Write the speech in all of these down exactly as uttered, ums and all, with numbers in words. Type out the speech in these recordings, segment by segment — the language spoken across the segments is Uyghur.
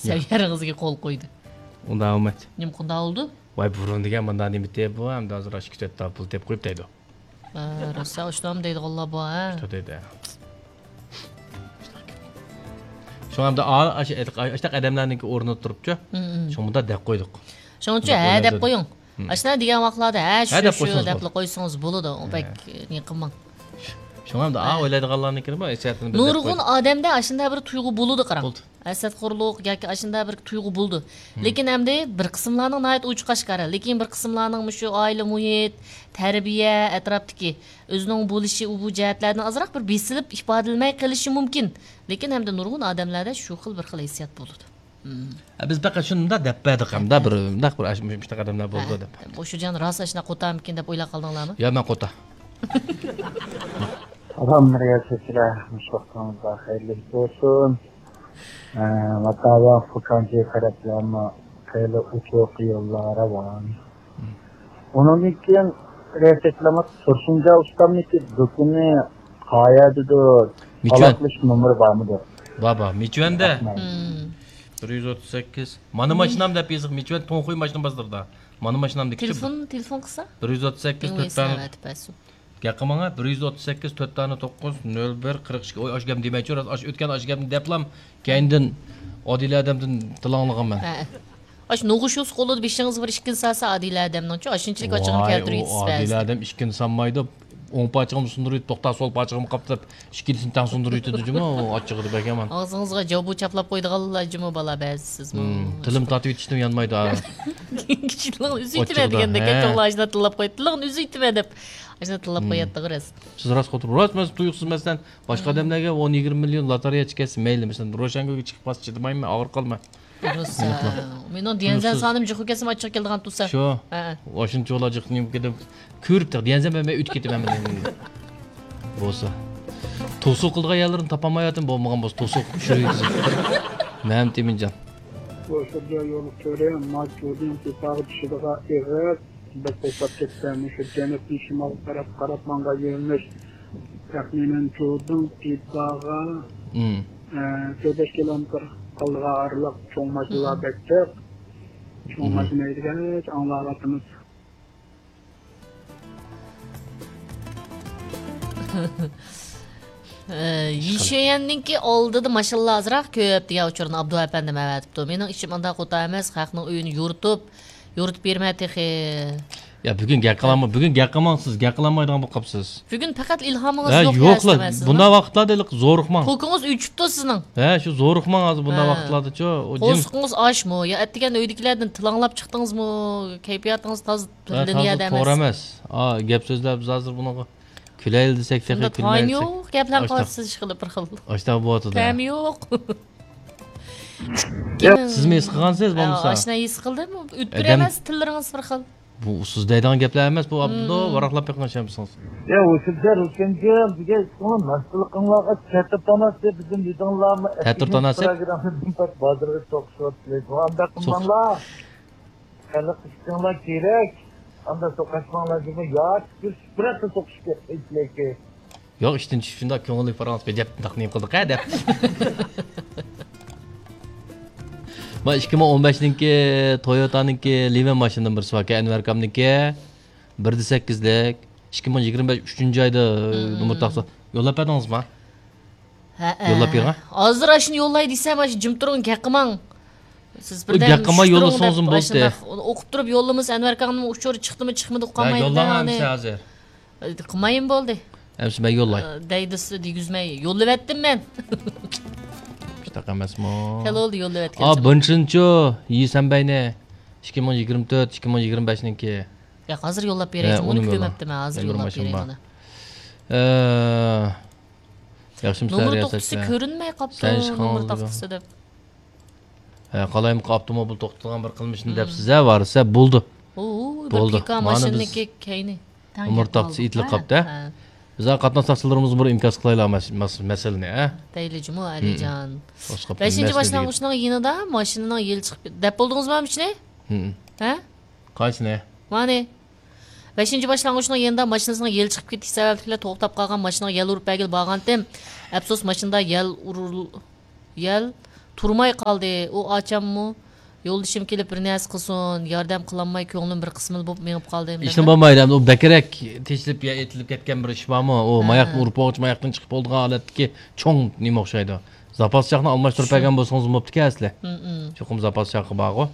سەۋىيەلىرىڭىزگە قول قويدى. ئۇنداق ئەمەس. نېمە قانداق بولدى؟ ۋاي، بۇرۇن دېگەن مۇنداق نېمە ئىدى بۇ، ئەمدى ھازىر ئاشۇ ئىككى تۆت تال پۇل تېپىپ قويۇپ دەيدۇ. ھە، راست، ئاشۇنداقمۇ دەيدىغانلار بار، ھە؟ شۇنداق دەيدۇ. شۇڭا ئەمدى ئا-، ئاشۇ-، ئاشۇنداق ئادەملەرنىڭكى ئورنىدا تۇرۇپچۇ، شۇڭا مۇنداق دەپ قويدۇق. شۇنىڭ ئۈچۈن ھە دەپ قويۇڭ. ئاشۇنداق دېگەن ۋاقىتلاردا ھە، شۇ، شۇ دەپلا قويسىڭىز بولىدۇ. بەك نېمە قىلماڭ. شۇڭا ئەمدى ئا-، ئويلايدىغانلارنىڭكى بۇ ھېسسىياتىنى بىر دەپ قويدۇق. نۇرغۇن ئادەمدە ئاشۇنداق بىر تۇيغۇ بولىدۇ، قاراڭ. ھەسەتخورلۇق ياكى ئاشۇنداق بىر تۇيغۇ بولىدۇ. لېكىن ئەمدى بىر قىسىملارنىڭ ناھايىتى ئوچۇق ئاشكارا، لېكىن بىر قىسىملارنىڭ مۇشۇ ئائىلە مۇھىت، تەربىيە، ئەتراپتىكى ئۆزىنىڭ بولۇشى، ئۇ بۇ جەھەتلەردىن ئازراق بىر بېسىلىپ ئىپادىلىمەي قېلىشى مۇمكىن. لېكىن ھەمدە نۇرغۇن ئادەملەردە شۇ خىل بىر خىل ھېسسىيات بولىدۇ. ھە، بىز پەقەت شۇنى مۇنداق دەپ بەردۇق ھەمدە، بىر مۇنداق بىر ئاش-، مۇشۇنداق ئادەملەر بولىدۇ دەپ. بوشۇجان راست ئاشۇنداق قوتامىكىن دەپ ئويلاپ قالدىڭلارمۇ؟ يا، مەن قوتا. سالام، رىياسەتچىلەر، مۇشۇ ۋاقتىڭىزدا خەيرلىك بولسۇن. ئە، ماتاۋا فۇكاڭجى تەرەپلەرمۇ خېلى ئوچۇق يوللار راۋان. ئۇنىڭدىن كېيىن رىياسەتچىلەرمۇ تۇرسۇنجان ئۇستامنىڭكى دۇكىنى قايەردىدۇر؟ مىچۈەن. ئالاقىلىشىش نومۇرى بارمىدۇ؟ بار، بار. مىچۈەندە. رەھمەت. بىر يۈز ئوتتۇز سەككىز. مانا ماشىنام دەپ يېزىق. مىچۈەن توڭخۇي ماشىنا بازىرىدا. مانا ماشىنام دېگۈچى. تېلېفون، تېلېفون قىلسا؟ بىر يۈز ئوتتۇز سەككىز، تۆت دانە. گەپ قىلماڭا، بىر يۈز ئوتتۇز سەككىز، تۆت دانە توققۇز، نۆل بىر، قىرىق ئىككى. ئوي، ئاشۇ گەپنى دېمەيچۇ، راست، ئاشۇ ئۆتكەن ئاشۇ گەپنى دەپلام، كەينىدىن ئادىلە ئادەمدىن تىل ئاڭلىغانمەن. ھە. ئاشۇ نوغۇشۇس قولىدا بېشىڭىزغا بىر ئىككىنى سالسا، ئادىلە ئادەمنىڭچۇ، ئاشۇنچىلىك ئاچچىقىنى كەلتۈرۈۋېتىسىز بەزىدە. ئادىلە ئادەم ئىككىنى سالمايدۇ. ئوڭ پاچىقىمنى سۇندۇرۇۋېتىپ، توختا سول پاچىقىمغا قاپتۇرۇپ، ئىككىلىسىنى تەڭ سۇندۇرۇۋېتىدۇ جۇمۇ، ئاچچىقىدا بەك يامان. ئاغزىڭىزغا جاۋبۇ چاپلاپ قويىدىغانلار جۇمۇ بالا بەزى سىزمۇ. تىلىم تارتىۋېتىشتىن يانمايدۇ، ھە. كىشىلەرنىڭ ئۆزى ئېيتىمەن دېگەندەك، ھە. چوڭلار ئاشۇنداق تىللاپ قويۇپ، تىلىڭنى ئۆزى ئېيتىمەن دەپ، ئاشۇنداق تىللاپ قوياتتىغۇ راست. سىز راست قوتۇر، راست، مەن تۇيۇقسىز، مەسىلەن، باشقا ئادەملەرگە ئون يىگىرمە مىليون لاتارىيە چىقىپ كەتسە مەيلى، مەسىلەن، روشەنگۈلگە چىقىپ قالسا چىدىمايمەن، ئاغرىپ قالىمەن. روسا. مېنىڭ ديەنزەن سانىم جىقۇ كەلسىمۇ ئاچچىقى كېلىدىغان تۇرسا. شۇ. ھە. ئاشۇنچە بالا جىق نېمە كېتىپ، كۆرۈپ تېخى ديەنزەن بەرمەي ئۆتۈپ كېتىمەن مەن. بولسا. توسۇق قىلىدىغان يەرلىرىنى تاپالمايۋاتىمەن، بولمىغان بولسا توسۇق چۈشۈرۈۋېتىسىز. مەمتىمىنجان. بۇ شۇرجا يول تۈرى ماچۇدىن پىپاغا چۈشىدىغان ئېغىز بەك توختاپ كەتتى. مۇشۇ جەنۇبتىن شىمالغا قاراپ، قاراپ ماڭغان يۆنىلىش تەخمىنەن جۇدىڭ پىپاغا، ئە، تۆت بەش كىلومېتىر قالىدىغان ئارىلىق. چوڭ ماشىنىلار بەك جىق. چوڭ ماشىنا ھەيدىگەچ ئاڭلاۋاتىمىز. ئە، يىشيەننىڭكى ئالدىدا ماشىنىلار ئازراق كۆپ دېگەن ئۇچۇرنى ئابدۇ ئەپەندىم ئەۋەتىپتۇ. مېنىڭ ئىشىم ئانداق قوتا ئەمەس، خەقنىڭ ئۆيىنى يورۇتۇپ، يورۇتۇپ بېرىمەن تېخى. يا، بۈگۈن گەپ قىلالماي، بۈگۈن گەپ قىلماڭ سىز، گەپ قىلالمايدىغان بولۇپ قاپسىز. بۈگۈن پەقەت ئىلھامىڭىز ھە، يوق يوقلا، دەيسىز، بۇنداق ۋاقىتلاردا ھېلىقى زورۇقماڭ. پوكىڭىز ئۆچۈپتۇ سىزنىڭ. ھە، شۇ زورۇقماڭ ھازىر بۇنداق ھە. ۋاقىتلاردا چۇ. ئۇ جىم- قورسىقىڭىز ئاچمۇ؟ يا ئەتىگەن ئۆيدىكىلەردىن تىل ئاڭلاپ چىقتىڭىزمۇ؟ كەيپىياتىڭىز تازا ھە، تازا توغرا ئەمەس. ئا، گەپ سۆزلەر بىز ھازىر بۇنىڭغا كۈلەيلى دېسەك تېخى شۇنداق تايىنى كۈلمەيمىز. يوق گەپلەرنى قىلىسىز، ئىشقىلىپ بىر خىل. ئاشتاق بولۇۋاتىدۇ. تەمى يوق. سىزمۇ ھېس قىلغانسىز بولمىسا؟ ئاشۇنداق ھېس قىلدىم. ئۆتكۈر ئەمەس، تىللىرىڭىز بىر خىل. بۇ سىز دەيدىغان گەپلەر ئەمەس بۇ، ئابدۇ، ۋاراقلاپ بېقىڭ ئىشەنمىسىڭىز. يا، ئۇ سىزلەر ئۈچۈنچى بىزگە ئىشقىلىپ مەستلىكىڭلارغا تەتۈر تاناسى بىزدىن دېدىڭلارمۇ؟ تەتۈر تاناسى؟ پروگراممىدىن بازارغا توقۇشۇۋاتىدۇ. ئانداق قىلماڭلار. خەلق ئىشقىڭلار كېرەك. ئانداق توقاشماڭلار دېمە. ياكى بىر سۈپرەتتە توقۇشۇپ كەتسەك. ياق، ئىشتىن چۈشۈپ شۇنداق كۆڭۈللۈك پاراڭلىشىپ دەپ، داق نېمە قىلدۇق ھە دەپ. ما ئىككى مىڭ ئون بەشنىڭكى تويوتانىڭكى لىۋەن ماشىنىدىن بىرسى باركەن، ئەنۋەر ئاكامنىڭكى. بىر دە سەككىزلىك. ئىككى مىڭ يىگىرمە بەش ئۈچىنچى ئايدا نومۇر تاقىسا. يوللاپ بەردىڭىزمۇ؟ ھەئە. يوللاپ بېرىڭ. ھازىر ئاشۇنى يوللاي دېسەم، ئاشۇ جىم تۇرۇڭ، گەپ قىلماڭ. سىز بىردەم گەپ قىلماي يوللىسىڭىزمۇ بولدى. ئوقۇپ تۇرۇپ يوللىمىسا، ئەنۋەر ئاكاڭنىڭ ئۇچۇرى چىقتىمۇ، چىقمىدى، ئۇقالمايمەن. يوللاڭ ئەمىسە ھازىر. قىلمايمۇ بولدى. ئەمىسە مەن يوللاي. دەيدىسى دېگۈزمەي يوللىۋەتتىم مەن. شۇنداق ئەمەسمۇ؟ خېلى بولدى يوللىۋەتكەن. ئا، بىرىنچىنچۇ، يىسەنبەينى. ئىككى مىڭ يىگىرمە تۆت، ئىككى مىڭ يىگىرمە بەشنىڭكى. ياق، ھازىر يوللاپ بېرەي. ئۇنى كۆرمەپتىمەن، ھازىر يوللاپ بېرەي ئۇنى. ئە، ياخشىمۇ سەن رىياسەتچى؟ نومۇر توختىسى كۆرۈنمەي قاپتۇ، نومۇر توختىسى دەپ. ھە، قالايمىقان ئاپتوموبىل توختىتىدىغان بىر قىلمىشنى دەپسىز ھە، ۋارىسە بولدى. ئۇ، بىر بولدى. پىكا ماشىنىنىڭكى كەينى. نومۇر تاختىسى ئېتىلىپ قاپتۇ ھە. ھە. بىز قاتناش تاپشۇرۇقلىرىمىزغا بىر ئىنكاس قىلايلى مەس-، مەس-، مەسىلىنى ھە. دەيلى جۇمۇ ئەلىجان. بەشىنچى باشلانغۇچنىڭ يېنىدا ماشىنىنىڭ يېلى چىقىپ، دەپ بولدىڭىزمۇ مۇشۇنى؟ ھە؟ قايسىنى؟ مانى. بەشىنچى باشلانغۇچنىڭ يېنىدا ماشىنىسىنىڭ يېلى چىقىپ كېتىشى سەۋەبلىكلا توختاپ قالغان ماشىنىغا يەل ئۇرۇپ بەرگىلى بارغانتىم. ئەپسۇس، ماشىنىدا يەل ئۇرۇل-، يەل تۇرماي قالدى. ئۇ ئاچاممۇ، يولدىشىم كېلىپ بىر نەرسە قىلسۇن، ياردەم قىلالماي كۆڭلۈم بىر قىسمىلا بولۇپ مېڭىپ قالدى. ئىشنى بولمايدۇ ئەمدى، ئۇ بەكرەك تېشىلىپ يا ئېتىلىپ كەتكەن بىر ئىش بارمۇ؟ ئۇ ھە. ماياقنى ئۇرۇپ بولغۇچە ماياقتىن چىقىپ بولىدىغان ھالەتتىكى چوڭ نېمە ئوخشايدۇ. زاپاس چاقنى ئالماشتۇرۇپ شۇ. بەرگەن بولسىڭىز بوپتىكەن ئەسلى. ھم، ھم. چوقۇم زاپاس چاقى بارغۇ.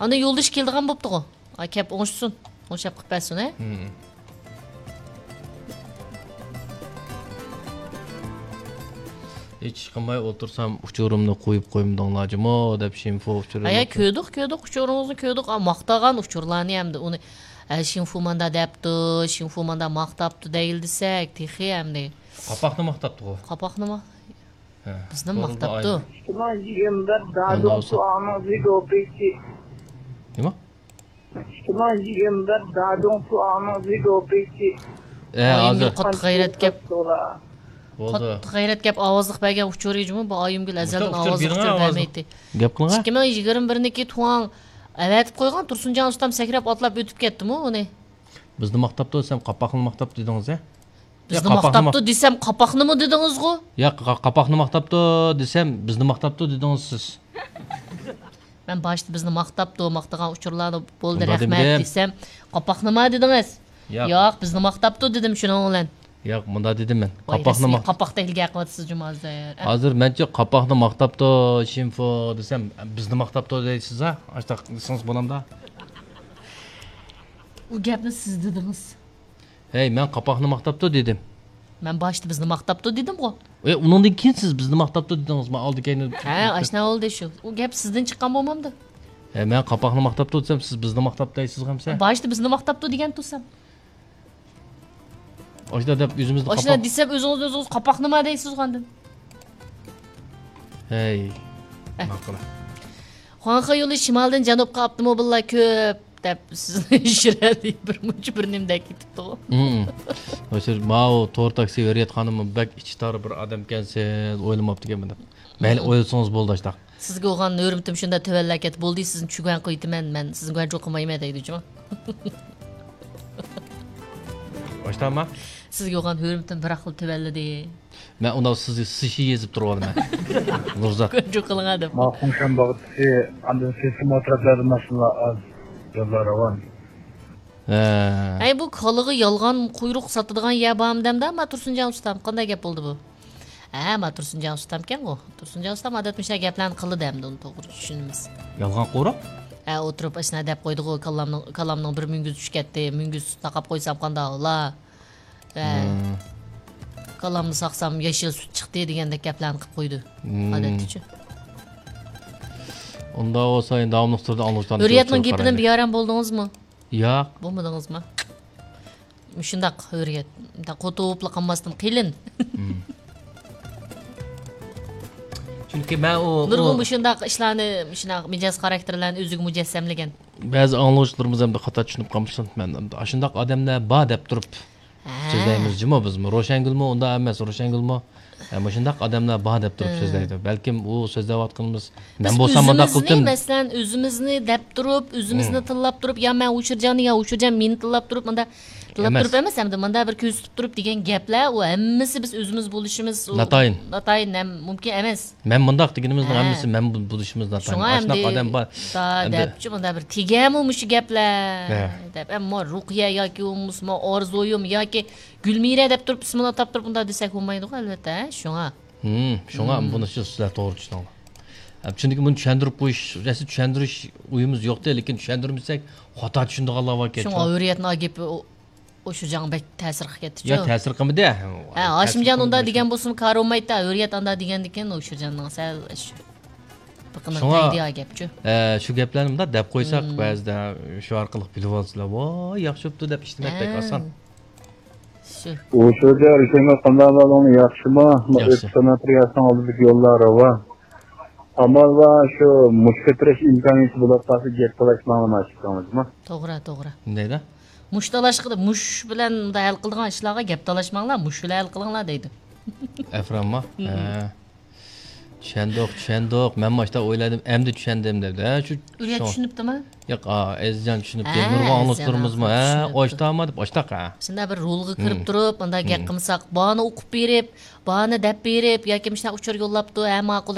ئاندىن يولدىشى كېلىدىغان بوپتىغۇ. ئا، كەپ ئوڭشىسۇن. ئوڭشاپ قىلىپ بەرسۇن، ھە؟ ھم. ھېچ قىلماي ئولتۇرسام، ئۇچۇرۇمنى قويۇپ قويمىدىڭلار جۇمۇ دەپ شىنفۇ ئۇچۇرى ھەيە، يوق. كۆردۇق، كۆردۇق، ئۇچۇرىڭىزنى كۆردۇق. ئا، ماختىغان ئۇچۇرلارنى ئەمدى ئۇنى، ئە، شىنفۇ ماندا دەپتۇ، شىنفۇ ماندا ماختاپتۇ دەيلى دېسەك، تېخى ئەمدى. قاپاقنى ماختاپتىغۇ. قاپاقنىمۇ؟ ھە، بىزنى توغرا ماختاپتۇ. ئاي. ئىككى مىڭ يىگىرمە بىر ئاندىن دادۇڭ بولسا. سۇئاڭنىڭ زىگوپىسى. نېمە؟ ئىككى مىڭ يىگىرمە بىر دادۇڭ سۇئاڭنىڭ زىگوپىسى. ئە، ئايىمگۈل ھازىر. قاتتىق غەيرەت گەپ. بولدى. قاتتىق غەيرەت گەپ ئاۋازلىق بەرگەن ئۇچۇر جۇمۇ، بۇ ئايىمگۈل ئەزەلدىن مۇشۇ ئۇچۇر ئاۋازلىق بېرىڭە ئۇچۇر ئاۋازلىق. بەرمەيتتى. گەپ قىلىڭە. ئىككى مىڭ يىگىرمە بىرنىڭكى تۇڭ ئەۋەتىپ قويغان تۇرسۇنجان ئۇستام سەكرەپ ئاتلاپ ئۆتۈپ كەتتىمۇ ئۇنى. بىزنى ماختاپتۇ دېسەم، قاپاقنى ماختاپتۇ دېدىڭىز ھە؟ بىزنى يا، قاپاقنى ماختاپتۇ ما- دېسەم، قاپاقنىمۇ دېدىڭىزغۇ؟ يا، قا-، قاپاقنى ماختاپتۇ دېسەم، بىزنى ماختاپتۇ دېدىڭىز سىز. مەن باشتا بىزنى ماختاپتۇ، ماختىغان ئۇچۇرلارنى بولدى، مۇنداق رەھمەت دېمىدىم. دېسەم، قاپاقنىما دېدىڭىز؟ ياق. ياق، بىزنى ماختاپتۇ دېدىم شۇنىڭ بىلەن. ياق، مۇنداق دېدىم مەن. ۋاي، قاپاقنى رەسمىي ماخ- قاپاقتا ھىيلىگە قىلىۋاتىسىز جۇمۇ ھازىر. ھازىر مەنچە قاپاقنى ماختاپتۇ، شىنفۇ دېسەم، بىزنى ماختاپتۇ دەيسىز ھە؟ ئاشتاق دېسىڭىز بولامدا؟ ئۇ گەپنى سىز دېدىڭىز. ھەي، مەن قاپاقنى ماختاپتۇ دېدىم. مەن باشتا بىزنى ماختاپتۇ دېدىمغۇ. ئە، ئۇنىڭدىن كېيىن سىز بىزنى ماختاپتۇ دېدىڭىز، مەن ئالدى كەينى. ھە، ئاشنا بولدى شۇ. ئۇ گەپ سىزدىن چىققان بولمامدۇ؟ ھە، مەن قاپاقنى ماختاپتۇ دېسەم، سىز بىزنى ماختاپتۇ دەيسىزغۇ ئەمسە؟ باشتا بىزنى ماختاپتۇ دېگەن تۇرسام. ئاشۇنداق دەپ ئۆزىمىزنى ئاشۇنداق قاپاق- دېسەم، ئۆزىڭىز ئۆزىڭىز قاپاقنىما دەيسىزغۇ ئاندىن. ھەي، ئە. ماقۇل. خۇاڭخې يولى شىمالدىن جەنۇبقا ئاپتوموبىللار كۆپ دەپ سىزنى شىرەلى بىر مۇنچە بىر نېمىدەك كېتىپتىغۇ. ھىم. ھازىر ماۋۇ تور تاكسى ھۆرىيەت خانىممۇ بەك ئىچى تار بىر ئادەمكەنسىز، ئويلىماپتىكەنمەن دەپ. مەيلى، ھىم. ئويلىسىڭىز بولدى ئاشتاق. سىزگە بولغان ھۆرمىتىم شۇنداق تۆۋەنلەپ كەتتى. بولدى، سىزنى چۈگەن قىلىۋېتىمەن، مەن سىزنى گۇەنجۇ قىلمايمەن دەيدۇ جۇمۇ. ئاشتاما؟ سىزگە بولغان ھۆرمىتىم بىراقلا تۆۋەنلىدى. مەن ئۇنداق سىزگە سىشى يېزىپ تۇرۇۋالىمەن. نۇرزات. گۇەنجۇ قىلىڭا دەپ. ماخۇڭشەن باغچىسى، ئاندىن سېسىم ئەتراپلاردا ماشىنىلار ئاز، يوللار راۋان. ھە. ئەي، بۇ كالىغا يالغان قۇيرۇق ساتىدىغان يەر بارمۇ دەمدە؟ ما تۇرسۇنجان ئۇستام، قانداق گەپ بولدى بۇ؟ ھە، ما تۇرسۇنجان ئۇستامكەنغۇ. تۇرسۇنجان ئۇستام ئادەتتە مۇشۇنداق گەپلەرنى قىلىدۇ ئەمدى، ئۇنى توغرا چۈشىنىمىز. يالغان قۇيرۇق؟ ھە، ئولتۇرۇپ ئاشۇنداق دەپ قويدىغۇ، كالامنىڭ، كالامنىڭ بىر مۈڭگۈزى چۈشۈپ كەتتى، مۈڭگۈز تاقاپ قويسام قانداق بولا؟ ھە. ھىم. كالامنى ساقسام ياشىل سۈت چىقتى دېگەندەك گەپلەرنى قىلىپ قويىدۇ. ھىم. ئادەتتىچۇ. ئۇنداق بولسا، ئەمدى داۋاملىق تۈردە ئاڭلىغۇچىلارنى ھۆرىيەتنىڭ كۆرۈپ گېپىدىن تۇرايلى. بىئارام بولدىڭىزمۇ؟ ياق. بولمىدىڭىزمۇ؟ مۇشۇنداق ھۆرىيەت، مۇنداق قوتۇپلا قالماستىن قېلىن. ھىم. چۈنكى مەن ئۇ، نۇرغۇن ئۇ مۇشۇنداق ئىشلارنى، مۇشۇنداق مىجەز خاراكتېرلەرنى ئۆزىگە مۇجەسسەملىگەن. بەزى ئاڭلىغۇچىلىرىمىز ئەمدى خاتا چۈشىنىپ قالمىسۇن. مەن ئاشۇنداق ئادەملەر بار دەپ تۇرۇپ ھە. سۆزلەيمىز جۇمۇ بىزمۇ. روشەنگۈلمۇ ئۇنداق ئەمەس، روشەنگۈلمۇ، ھە، مۇشۇنداق ئادەملەر بار دەپ تۇرۇپ ھە. سۆزلەيدۇ. بەلكىم ئۇ سۆزلەۋاتقىنىمىز، بىز مەن بولسام مۇنداق ئۆزىمىزنى، قىلدىم. مەسىلەن، ئۆزىمىزنى دەپ تۇرۇپ، ئۆزىمىزنى ھىم. تىللاپ تۇرۇپ، يا مەن ھۇشۇرجاننى، يا ھۇشۇرجان مېنى تىللاپ تۇرۇپ، مۇنداق تىللاپ ئەمەس. تۇرۇپ ئەمەس، ئەمدى مۇنداق بىر كۆرسىتىپ تۇرۇپ دېگەن گەپلەر، ئۇ ھەممىسى بىز ئۆزىمىز بولۇشىمىز، ئۇ ناتايىن. ناتايىن ھەم مۇمكىن ئەمەس. مەن مۇنداق دېگىنىمىزنىڭ ھە. ھەممىسى مەن بۇ-، بولۇشىمىز ناتايىن. شۇڭا ئاشۇنداق ئەمدى ئادەم بار. دا ئەمدى دەپچۇ، مۇندا بىر تېگەمۇ مۇشۇ گەپلەر ھە. دەپ، ئەمما رۇقىيە ياكى بولمىسىمۇ ئارزۇيۇم ياكى گۈلمىرە دەپ تۇرۇپ ئىسمىنى ئاتاپ تۇرۇپ مۇنداق دېسەك بولمايدىغۇ، ئەلۋەتتە، ھە، شۇڭا. ھىم، شۇڭا ھىم. بۇنى شۇ سىلەر توغرا چۈشىنىڭلار. ھە، چۈنكى بۇنى چۈشەندۈرۈپ قويۇش، رەسمىي چۈشەندۈرۈش ئويىمىز يوقتى، لېكىن چۈشەندۈرمىسەك خاتا چۈشىنىدىغانلار باركەن. شۇڭا ھۆرىيەتنىڭ گېپى ئۇ ئۇ شۇجاڭ بەك تەسىر قىلىپ كەتتىچۇ. يا، تەسىر قىلمىدى. ھە، ھاشىمجان ئۇنداق دېگەن بولسىمۇ كارى بولمايتتى، ھۆرىيەت ئانداق دېگەندىكىن ئۇ شۇجاڭنىڭ سەل شۇ بىقىنىغا شۇڭا، تەگدى يا گەپچۇ. ئە، شۇ گەپلەرنى مۇنداق دەپ قويساق، مم. بەزىدە شۇ ئارقىلىق بىلىۋالسىلا، ۋاي، ياخشى بوپتۇ دەپ ئىشلىمەك بەك ھە. ئاسان. شۇ. ئۇ شۇجاڭ، رۇشەنگۈل قانداق ئەھۋالىڭ، ياخشىما؟ ياخشى. ئۆتكۈر ساناتورىيەسىنىڭ ئالدىدىكى يوللار راۋان. ئامال بار، شۇ مۇشت كۆتۈرۈش ئىمكانىيىتى بولۇپ قالسا، گەپ تالاشماڭلار، مانا شۇ ئىككىڭلار، جۇمۇ. توغرا، توغرا. نېمە دەيدۇ؟ مۇشت تالاشقا، مۇشت بىلەن مۇنداق ھەل قىلىدىغان ئىشلارغا گەپ تالاشماڭلار، مۇشت بىلەن ھەل قىلىڭلار دەيدۇ. ئەفرانما؟ مم. ھە. چۈش چۈشەندۇق، چۈشەندۇق. مەن ماشتا ئويلىدىم، ئەمدى چۈشەندىم دەپ. ھە، شۇ ئۈليە شۇ- چۈشىنىپتىمۇ؟ ياق، ئا، ئەزىزجان چۈشىنىپتۇ. ھە، نۇرغۇن ئەزىزجان ئاڭلىتىپ تۇرىمىزمۇ؟ ھە، چۈشىنىپتۇ. ئاشتامۇ دەپ ئاشتاق، ھە. شۇنداق بىر رولغا كىرىپ تۇرۇپ، ئانداق گەپ قىلمىساق، بارنى ئوقۇپ بېرىپ، بارنى دەپ بېرىپ، ياكى مۇشۇنداق ئۇچۇر يوللاپتۇ، ھە، ماقۇل،